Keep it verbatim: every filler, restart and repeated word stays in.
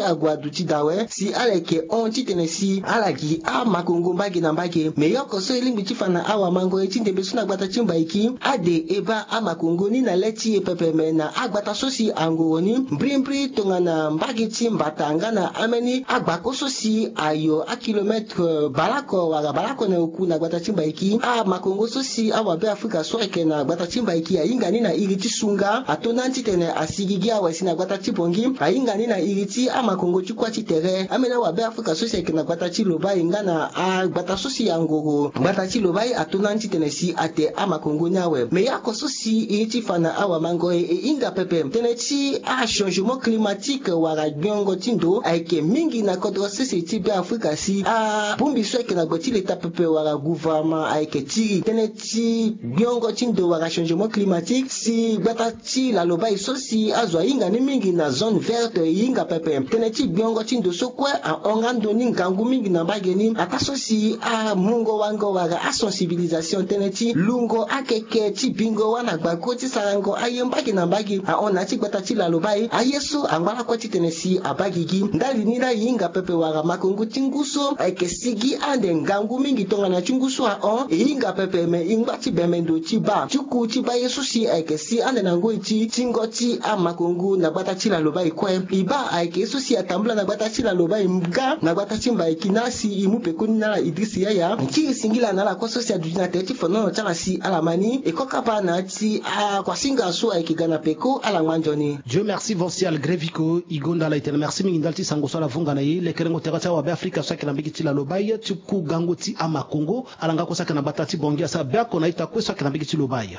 ague aduti daa awe si ala yeke hon titene si ala gi amakongo mbage na mbage. Me ye oko so e lingbi ti fa na awamango ye ti ndembe so na gbata ti Mbaiki ade e baa amakongo ni na le ti e pepe me na agbata so si angoro ni mbrimbri tongana mbage ti mbata nga na ambeni agbako so si ayo akilometre baleoko wala baleoko na oku na gbata ti Mbaiki. Amakongo so si awabe Afrika so ayeke na gbata ti Mbaiki ahinga ni na iri ti sunga ato na ni titene asigigi awe si na gbata ti Bongi ahinga ni na iri ti amakongo ti kuâ ti tere. Ambeni awabe Afrika so si ayeke na gbata ti Lobaye nga na agbata so si angoro gbata ti Lobaye ato na ni titene si ate amakongo ni awe. Me ye oko so si e ye ti fa na awamango e e hinga pepe tënë ti achangement climatique wala gbiongo ti ndo ayeke mingi na kodro sese ti Beafrika si abongbi so ayeke na gbe ti leta pepe wala gouvernement ayeke tiri tënë ti gbiongo ti ndo wala changement climatique si gbata ti Lalobaye so si azo ahinga ni mingi na zone verte e hinga pepe tënë ti gbiongo ti ndo so kue ahon nga ndo ni ngangu mingi na mbage ni ataa so si amungo wango wala asensibilisation tënë ti lungo akeke ti bingo wâ na gbako ti sarango aye mbage na mbage ahon na ya ti gbata ti Lalobaye aye so angba lakue titene si abaa gigi. Ndali ni laa e hinga pepe wala makongo ti ngu so ayeke sigi ande ngangu mingi tongana ti ngu so ahon e hinga pepe me e ngba ti bembe ndo ti baa ti ku ti baa ye so si ayeke si ande na ngoi ti tingo ti amakongo na gbata ti Lalobaye kue. E baa ayeke ye so si atambula na gbata ti Lalobaye nga na gbata ti Mbaiki na si e mu pekoni na ala Idriss Yaya ti e singila na ala kue so si aduti na tere ti fonono ti ala si ala ma ni e kokapa na ya ti akuasinga so ayeke ga na peko ala ngba nzoni. Dieu merci, Vancial Greviko e gonda ala e tene merci mingi ndali ti sango so ala vunga na e. Lekerengo tere ti awabe Afrika so ayeke na mbage ti Lalobaye ti ku gango ti amakongo ala nga kue so ayeke na gbata ti Bongi asara biako na ita kue so ayeke na mbage ti Lobaye.